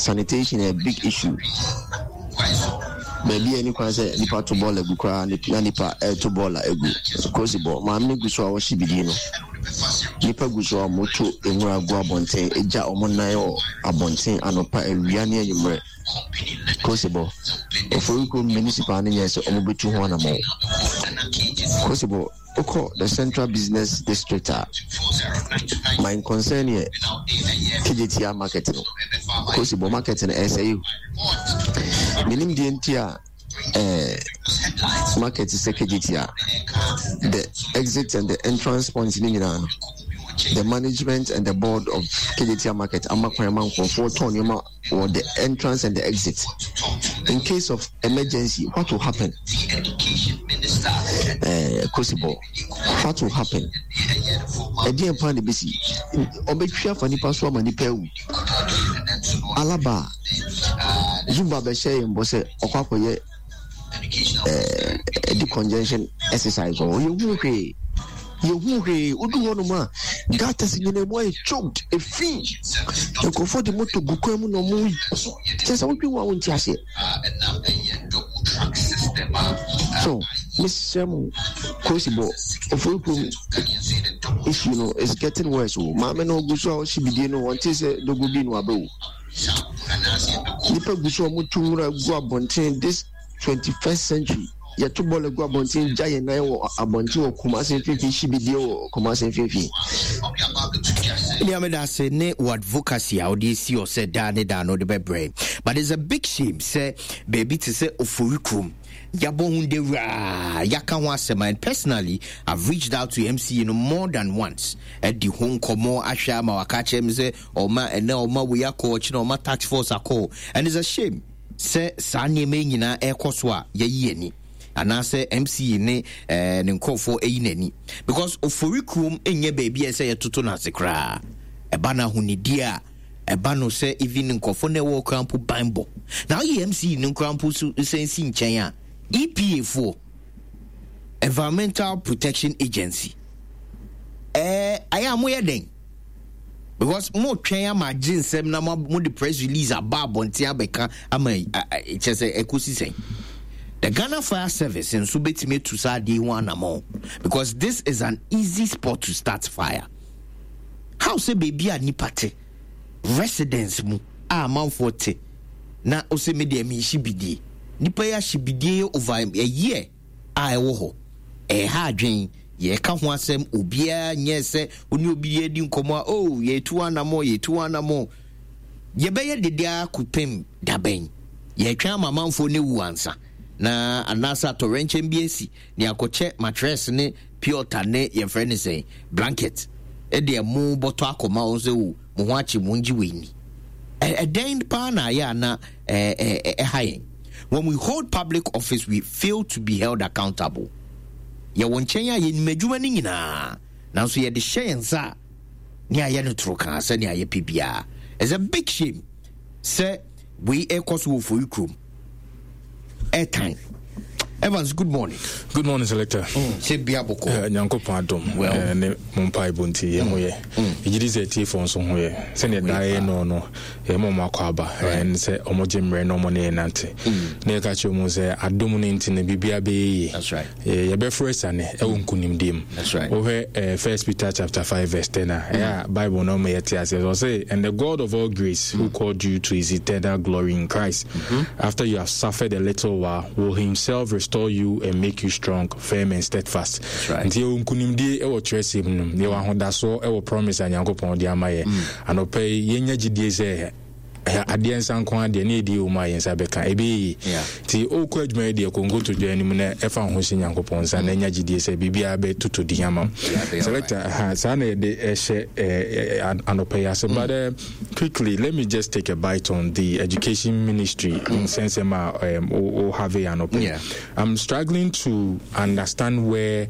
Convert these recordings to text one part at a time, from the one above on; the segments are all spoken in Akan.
Sanitation yɛ big issue. Baabi a ɛni kwan sɛ nipa to bɔɔla gu koraa na nipa ɛreto bɔɔla agu. Kosi bɔ maame no gu so a wɔhyɛ bidie no. Nipa gu so a wɔto nwura gu abɔnten, egya wɔn nan wɔ abɔnten anɔpa, awia ne anwummerɛ. Kosi bɔ Oforikrom municipal no nyɛ sɛ wɔbɛtu ho anamɔn. Kosi bɔ Wokɔ the central business district a, my concern yɛ Kejetia market no. Kosi bɔ market no ɛsɛe o. Menim deɛ nti a eh, market sɛ Kejetia, the exit and the entrance point ne nyinaa no, the management and the board of Kejetia market ama kwan ma nkurɔfoɔ tɔn nneɛma wɔ the entrance and the exit in case of emergency what will happen eh, kosibɔ what will happen ɛdeɛn paa na ɛbɛsi ɔbɛtwi afa nipa so ama nipa awu alaba zumba bɛhyɛ yɛn bɔ sɛ ɔkɔ akɔyɛ ɛɛ decongestion exercise wɔ hɔ yɛhu hwee yɛhu hwee wodu hɔ nom a gutters nyina mu ayɛ choked efi nkurɔfoɔ de moto gu kwan mu na ɔmo kyɛ sɛ wodwe ho a wonte aseɛ so mesrɛ mo kosi bɔ ofori kurom issue no is getting worse o maame no ogu so a ɔhye bidie no wɔnte sɛ dogo bi no abɛ o Nnipa gu so a wɔtu nwura gu abɔnten this 21st century. Yɛto bɔɔla gu abɔnten gya yɛn nan wɔ abɔnten wɔ Kumasi mfimfini hye bidie wɔ Kumasi mfimfini. Nea meda ase ne wo advocacy a wode asi hɔ sɛ daa ne daa no wode bɛbrɛ. But it's a big shame sɛ baabi te sɛ Ofori kurom yɛabɔ ho dawuraa yɛaka ho asɛm and personally I've reached out to MCA no more than once adi ho nkɔmmɔ ahwɛ ama waka akyerɛ me sɛ ɔma ɛnɛ ɔma wei akɔ ɔkyena ɔma tax force akɔ and it's a shame sɛ saa nneɛma yi nyinaa ɛrekɔ so a yɛyi ani anaasɛ mce ne eh, ne nkurɔfoɔ ayi n'ani because ofori kurom nyɛ baabi a ɛsɛ yɛtoto no ase koraa ɛba no ahonidie a ɛba no sɛ even nkurɔfoɔ na ɛwɔ koraa mpo banbɔ na woyɛ mce no koraa mpo so sɛn si nkyɛn a epa foɔ environmental protection agency ɛɛ ayɛ a moyɛ dɛn because mo twɛn ama agye nsɛm na mo mo de press release aba abɔnten abɛka ama kyɛ sɛ ɛkɔsi sɛn the ghana fire service nso bɛtumi atu saa adeɛ ho anamɔ because this is an easy spot to start fire how sɛ baabi a nipa te residence mu a amanfoɔ te na ɔsɛ me deɛ menhye bidie nipa yi ahye bidie over a year a ɛwɔ hɔ. Ɛreha adwene. Yɛreka ho asɛm, obiara nyɛɛ sɛ wo ne obi redi nkɔmmɔ a, oh, yɛretu anammɔn, yɛretu anammɔn. Yɛbɛyɛ dede ara kɔpem da bɛn? Yɛretwɛn ama amanfoɔ no awu ansa na anaasɛ atɔwrɛnkyɛm bi asi na yɛakɔkyɛ matress ne piota ne yɛfrɛ no sɛn blanket ɛde ɛmo bɔtɔ akɔma wɔn sɛ o mo ho akye mo ngye wei ni. Ɛdɛn paa na ayɛ a na ɛha yɛn? When we hold public office, we fail to be held accountable. Yɛwɔ nkyɛn a yɛnim adwuma no nyinaa, nanso yɛde hyɛ yɛn nsa a ne ayɛ no toro kaa sɛnea yɛpɛ biara. It's a big shame sɛ wei ɛkɔ so wɔ Foyi kurom. Airtime. Evans, good morning. Good morning, Selector. Sɛ bia bɔkɔ. Nyankopɔn adom. Well. Ne mo mpaebɔ nti yɛn ho yɛ. Yɛgye di sɛ atiefoɔ nso ho yɛ. Sɛdeɛ daa yɛ no no, yɛma ɔmo akɔ aba. Ɛne sɛ ɔmo gye mmerɛ na ɔmo ne yɛn nante. Na yɛka kyerɛ ɔmo sɛ adom no nti no biribiara bɛyɛ yie. That's right. Yɛbɛforo asiane ɛwɔ nkunimdie mu. That's right. Wohwɛ First Peter chapter 5 verse 10 a, ɛyɛ a Bible no ɔmo yɛte aseɛ. Ɔse, and the God of all grace who called you to his eternal glory in Christ, after you have suffered a little while, will himself restore you and make you strong, firm and steadfast. That's right. Nti yɛwɔ nkunimdie ɛwɔ twerɛsɛm no mu. Yɛwɔ ahodasoɔ ɛwɔ promise a Nyankopɔn de ama yɛ. Anɔpa yi, yɛnya gyidie sɛ adeɛ nsa nko adeɛ ne ɛdi wɔ mu a yɛn nsa bɛka ɛbɛyɛ yie. Nti wokɔ adwuma yi deɛ kɔ nkotodwe anim na ɛfa wo ho hyɛ Nyankopɔn nsa na ɛnya gyidie sɛ biribiara bɛtoto din ama wo. Selector, ha, saa na yɛde ɛhyɛ anɔpa yi ase. But quickly, let me just take a bite on the education ministry nsɛnsɛm a wo have anɔpa yi. I'm struggling to understand where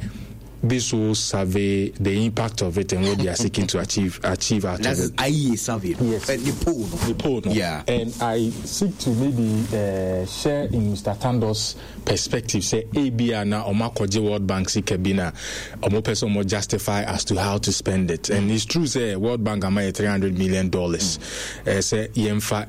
this whole survey, the impact of it, and what they are seeking to achieve out That's of it. IEA survey. Yes. The poll. No? The poll. No? Yeah. And I seek to maybe share in Mr. Tando's perspective, say ABR na Oma Koje World Bank sika bi na Omo person mo justify as to how to spend it. And it's true, say World Bank ama $300 million. Say yemfa